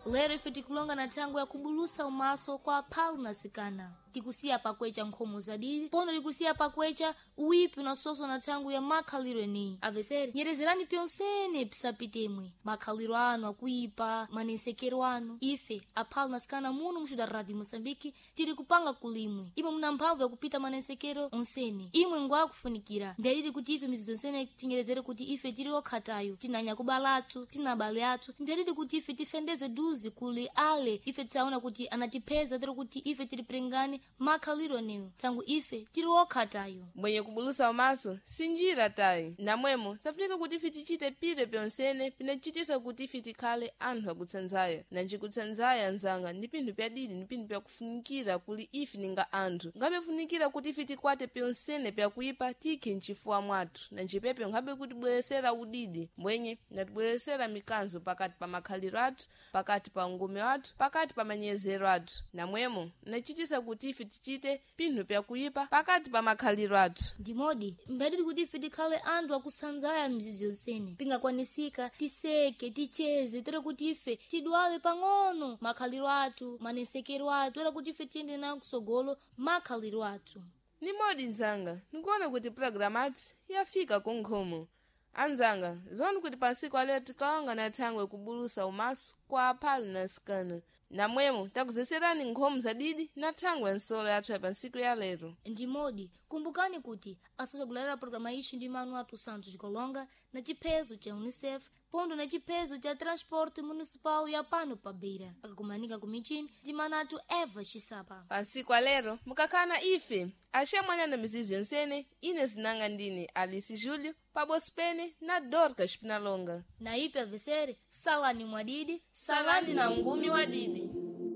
Lero ife tikulonga na thangwi ya kubulusa umaso kwa aphalu na sikana. Tikusiya pakwecha nkhomo zadidi, pono tikusiya pakwecha uwipi unasoso na thangwi ya makhaliro eniyi. Avesere, nyerezerani pyonsene pisapitemwe makhaliro anu akuipa, manensekero anu. Ife aphalu na sikana muno muxuda Radio Moçambique tiri kupanga kulimwe. Imwe muna mphamvu yakupita manensekero onsene, imwe ngwakufunikira. Mbyalili kuti ife mizizo onsene tinyerezere kuti ife tiri okhatayo, tina nyakubala athu, tina abale athu. Mbyalili kuti ife tifendeze duzi kuli ale ife tisaona kuti anatipheza, tiri kuti ife tili prengani makhaliro eneyo, tangu ife tiri okhatayo. Mwenye kubulusa umaso sinjira tayi, namwemo safunika kuti ife tichite pire pyonsene pinachitisa kuti ife tikhale anthu akutsanzaya. Nanjikutsanzaya nzanga ndi pinthu pyadidi ndi pinthu pyakufunikira kuli ife ninga anthu. Ngabe funikira kuti ife tikwate pyonsene pyakuipa tikhe mchifuwa mwathu, nanjipepe nkhabe kutibweresera udidi mbwenye natibweresera mikanzo pakati pa makhaliro athu, pakati pa ungumi wathu, pakati pa manyezero athu. Namwemo nachitisa kuti ife tichite pinthu pyakuipa pakati pa makhaliro athu. Ndimodi mbadili kuti ife tikhale anthu akusanzaya mzizi yonsene, pingakwanisika tiseke, ticheze, tere kuti ife tidwale pang'ono makhaliro athu, manesekero athu, era kuti ife tiyende nayo kusogolo makhaliro athu. Nimodi nzanga, nikuona kuti pulogalamu athu yafika kunkhomo. Anzanga, zoni kuti pansiku alero tikawanga na thangwe kubulusa umaso kwa aphalu na sikana. Namwemo takuzeserani nkhomo zadidi na thangwe ya nsolo yathu ya pansiku ya lero. Ndimodi kumbukani kuti asazagulalira programa ixi ndi manu athu Santos Golonga na chiphezo cha UNICEF pondo na chiphezo cha Transporte Municipal ya pano pa Beira, akakumanika ku michini ndi manu athu Eva Xisapa. Pansiku alero mukakhala ife axemwana na mizizi yonsene. Ine zinanga ndine Alice Júlio paboso pene na Dorcas Pinalonga. Na ipe avesere, salani mwadidi, salani na ungumi wadidi.